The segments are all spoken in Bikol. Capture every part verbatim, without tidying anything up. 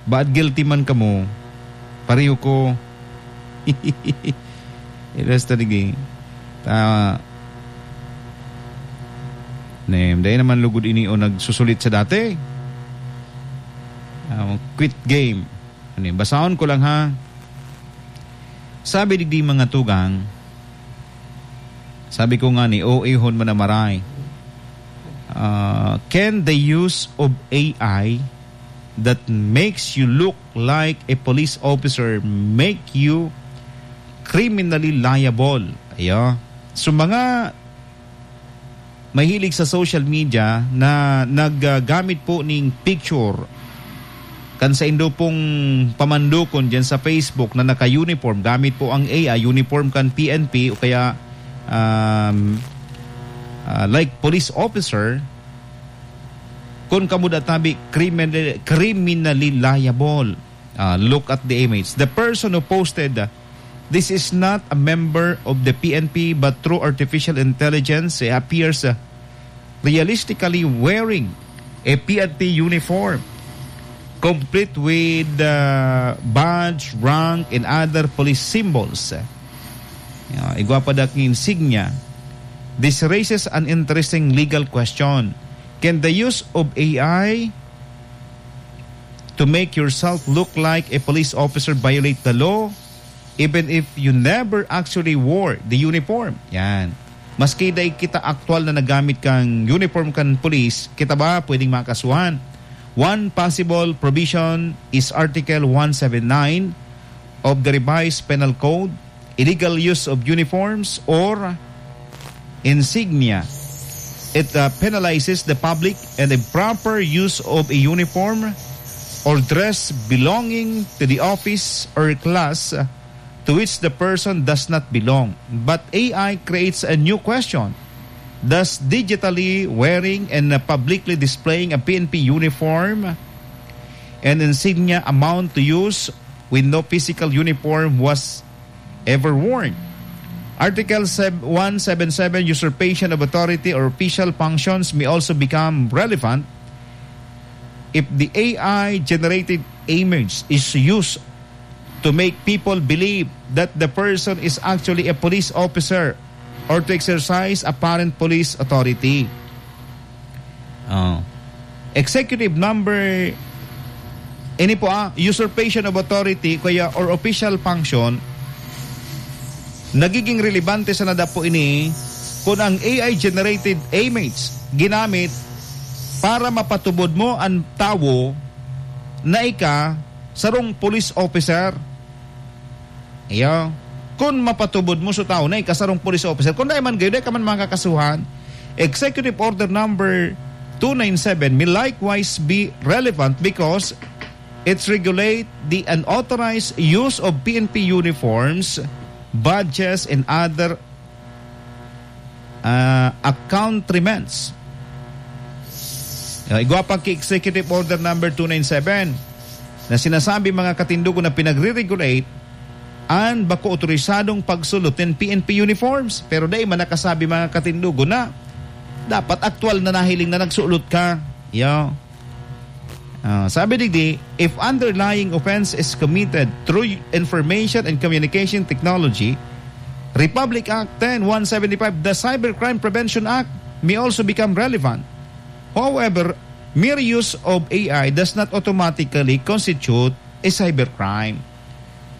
Baad guilty man kamo, pareho ko. Ilas ta digi. Ta-, nem, dai naman lugod ini o nagsusulit sa dati. Ah, quit game. Ano yun? Basahon ko lang, ha. Sabi digdi, mga tugang, sabi ko nga ni, "O, ihon mo na maray." Ah, can the use of A I that makes you look like a police officer make you criminally liable? Ayo. So, mga mahilig sa social media na naggamit po ning picture kan saindo pong pamandukon diyan sa Facebook na naka-uniform, gamit po ang A I, uniform kan P N P o kaya, um, ah, like police officer, kun kamo da tabi, criminal-, criminally liable. Ah, look at the image. The person who posted, uh, "This is not a member of the P N P, but through artificial intelligence, he appears, uh, realistically wearing a P N P uniform, complete with, uh, badge, rank, and other police symbols." Ah, igwa pa dak insignia. This raises an interesting legal question. Can the use of A I to make yourself look like a police officer violate the law, even if you never actually wore the uniform? Yan. Maski dai kita aktual na nagamit kan uniform kan pulis, kita ba pwedeng makasuhan? One possible provision is Article one seven nine of the Revised Penal Code, illegal use of uniforms or insignia. It, uh, penalizes the public and improper use of a uniform or dress belonging to the office or class, uh, to which the person does not belong. But A I creates a new question. Does digitally wearing and, uh, publicly displaying a P N P uniform and insignia amount to use when no physical uniform was ever worn? Article sev-, one seven seven, usurpation of authority or official functions, may also become relevant if the A I-generated image is used to make people believe that the person is actually a police officer or to exercise apparent police authority. Oh. Executive number, ini po, ah, usurpation of authority kaya or official function, nagiging relevante sa nadapo ini kung ang A I-generated image ginamit para mapatubod mo ang tawo na ika sarong police officer. Iyo. Kun mapatubod mo sa tawo na ika sarong police officer, kun dai man gayo, dai ka man makakasuhan. Executive Order Number two nine seven may likewise be relevant because it's regulate the unauthorized use of P N P uniforms, badges, and other, ah, accoutrements. Ah, igwa pa ki Executive Order Number two nine seven na sinasabi, mga katindogon, na pinagre-regulate an bako otorisadong pagsulot nin P N P uniforms. Pero dai man nakasabi, mga katindogon, na dapat aktual na nahiling na nagsulot ka. Yo. Ah, sabi digdi, if underlying offense is committed through information and communication technology, Republic Act ten one seventy-five, the Cybercrime Prevention Act may also become relevant. However, mere use of A I does not automatically constitute a cybercrime.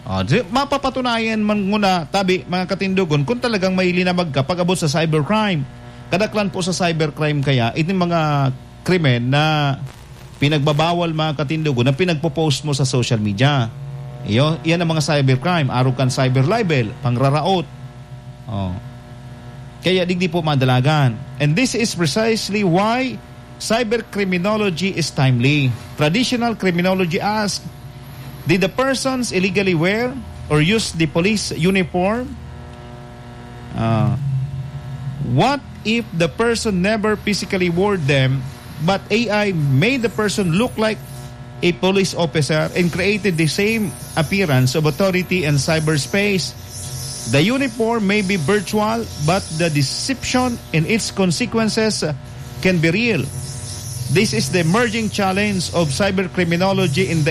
Ah, di, mapapatunayan man nguna, tabi, mga katindogon, kung talagang may linabag ka pag-abot sa cybercrime. Kadaklan po sa cybercrime kaya, itong mga krimen na pinagbabawal, mga katindogon, na pinagpo-post mo sa social media. Iyo, iyan ang mga cybercrime, arog kan cyber libel, pangraraot. Oh. Kaya digdi po madalagan. And this is precisely why cyber criminology is timely. Traditional criminology asks, did the persons illegally wear or use the police uniform? Uh, what if the person never physically wore them, but A I made the person look like a police officer and created the same appearance of authority in cyberspace? The uniform may be virtual, but the deception and its consequences can be real. This is the emerging challenge of cybercriminology in the